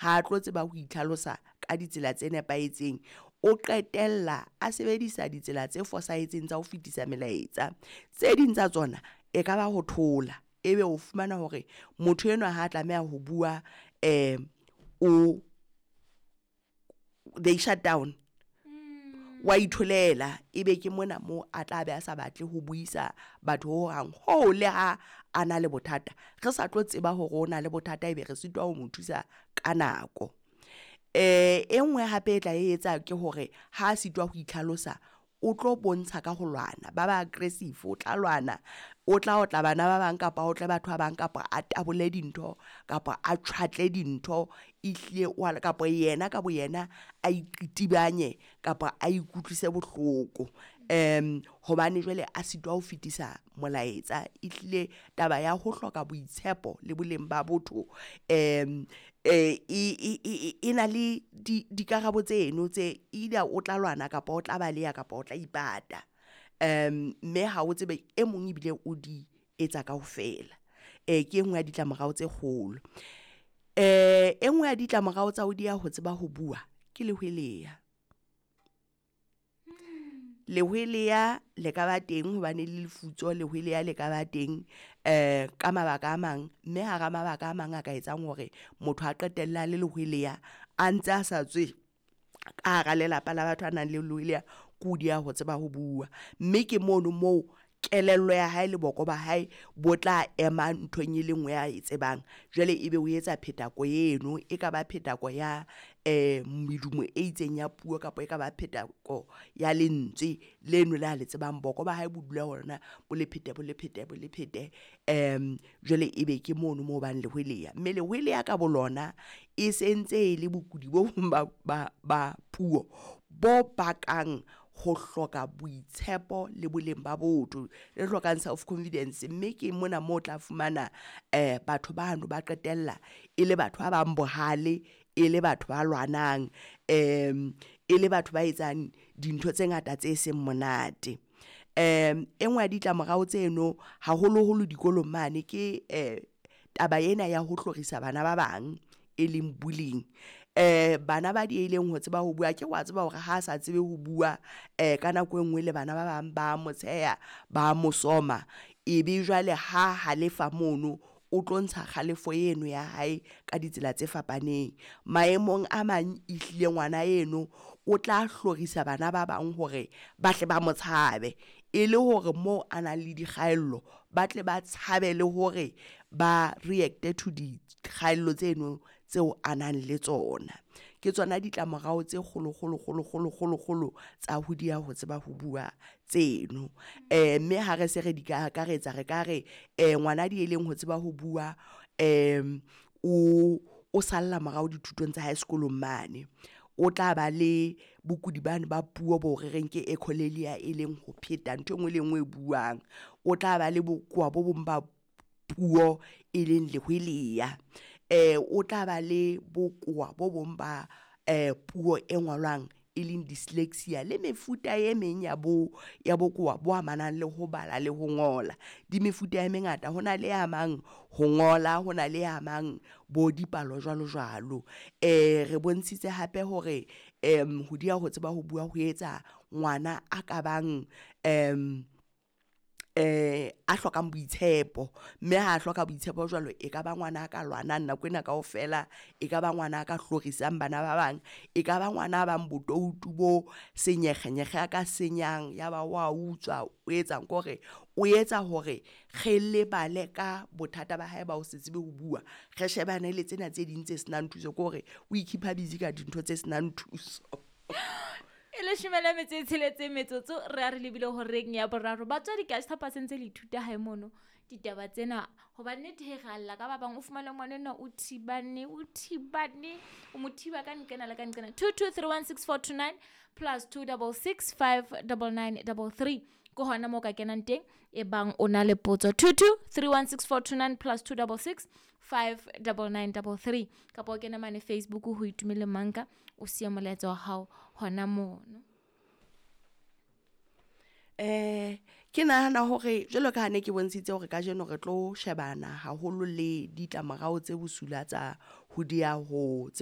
Ha a tlo tseba ho itlhalosa ka ditsela tse nepahetseng. O qetella a sebedisa ditsela tse fosahetseng tsa ho fetisa melaetsa. Tse ding tsa tsona e ka ba ho thola, ebe o fumana hore motho enwa ha tlameha ho bua o they shut down. Wa itholela, ebe ke mona moo a tla be a sa batle ho buisa batho hohang. Hoo le ha a na le bothata, re sa tlo tseba hore o na le bothata, ebe re sitwa ho mo thusa ka nako. E nngwe hape e tla e etsa ke hore ha a sitwa ho itlhalosa, o tlo bontsha ka ho lwana, ba ba aggressive, o tla lwana, o tla otla bana ba bang kapa o otle batho ba bang, kapa a tabole dintho, kapa a tjhwatle dintho, ehlile wa kapa yena ka boyena a iqitibanye kapa a ikutlwise bohloko. Hobane jwale a sitwa ho fetisa molaetsa. Ehlile taba ya ho hloka boitshepo le boleng ba botho e na le dikarabo tseno tse either o tla lwana kapa o tla baleha kapa o tla ipata. Mme ha o tsebe e mong ebile o di etsa kaofela. Ke e nngwe ya ditlamorao tse kgolo. E nngwe ya ditlamorao tsa ho dieha ho tseba ho bua ke lehweleya. Lehweleya le ka ba teng hobane le lefutso, lehweleya le ka ba teng ka mabaka a mang, mme hara mabaka a mang a ka etsang hore motho a qetella a le lehweleya a ntse a sa tswe ka hara lelapa la batho a nang le lehweleya, ke ho dieha ho tseba ho bua. Mme ke mono moo kelello ya hae le boko ba hae bo tla ema nthong e le nngwe ya e tsebang. Jwale ebe o etsa phetako eno, e ka ba phetako ya medumo e itseng ya puo kapa e ka ba phetako ya lentswe leno le a le tsebang. Boko ba hae bo dula hona bo le phete, bo le phete, bo le phete. Jwale ebe ke mono moo bang lehweleya, mme lehweleya ka bo lona e sentse e le bokudi bo bong ba puo bo bakang ho hloka boitshepo le boleng ba botho, le hlokang self confidence. Mme ke mona moo o tla fumana batho bano ba qetella e le batho ba bang bohale, e le batho ba lwanang, e le batho ba etsang dintho tse ngata tse seng monate. E nngwe ya ditlamorao tseno haholoholo dikolong mane ke taba ena ya ho hlorisa bana ba bang, e leng bullying. Bana ba diehileng ho tseba ho bua, akere wa tseba hore ha sa tsebe ho bua ka nako e nngwe le bana ba bang ba mo tsheha, ba mo soma, ebe jwale ha halefa mono o tlo ntsha kgalefo eno ya hae ka ditsela tse fapaneng. Maemong a mang ehlile ngwana eno o tla hlorisa bana ba bang hore ba hle ba mo tshabe, e le hore moo a nang le dikgaello ba tle ba tshabe le hore ba react-e to dikgaello tseno tseo a nang le tsona. Ke tsona ditlamorao tse kgolo kgolo kgolo kgolo kgolo kgolo tsa ho dieha ho tseba ho bua tseno. Mme ha re se re di ka akaretsa, re ka re ngwana diehileng ho tseba ho bua o salla morao dithutong tsa hae sekolong mane. O tla ba le bokudi bane ba puo bo re reng ke echolalia, e leng ho pheta ntho e nngwe le e nngwe e buang. O tla ba le bokowa bo bong ba puo e leng lehweleya. O tla ba le bokowa bo bong ba puo e ngolwang e leng dyslexia, le mefuta e meng ya bo ya bokowa bo amanang le ho bala le ho ngola. Di mefuta e mengata, ho na le e amang ho ngola, ho na le e amang bo dipalo jwalo jwalo. Re bontshitse hape hore ho dieha ho tseba ho bua ho etsa ngwana a ka bang a hlokang boitshepo, mme ha a hloka boitshepo jwalo, e ka ba ngwana a ka lwanang nako ena kaofela, e ka ba ngwana a ka hlorisang bana ba bang, e ka ba ngwana a bang botoutu bo senyekgenyekge, a ka senyang ya ba wa utswa, o etsang ke hore o etsa hore re lebale ka bothata ba hae ba ho se tsebe ho bua, re shebane le tsena tse ding tse senang thuso, ke hore o i-keep-a busy ka dintho tse senang thuso. E leshome le metso e tsheletseng metsotso re a re lebile horeng ya boraro. Batswadi ke a tshepa se ntse le ithuta hae mono ditaba tsena, hoba nnete he re alla ka ba bang, o fumane ngwana enwa o thibane, o thibane, o mo thiba ka nqena le ka nqena. 22316429 plus 266 59933 ke hona moo ka kenang teng e bang o na le potso. 22316429 plus 266 59933, kapa o kene mane Facebook ho Itumeleng Manka, o siya molaetsa wa hao hona mono. Ke nahana hore jwalo ka ha ne ke bontshitse hore kajeno re tlo shebana haholo le ditlamorao tse bosula tsa ho dieha ho tseba.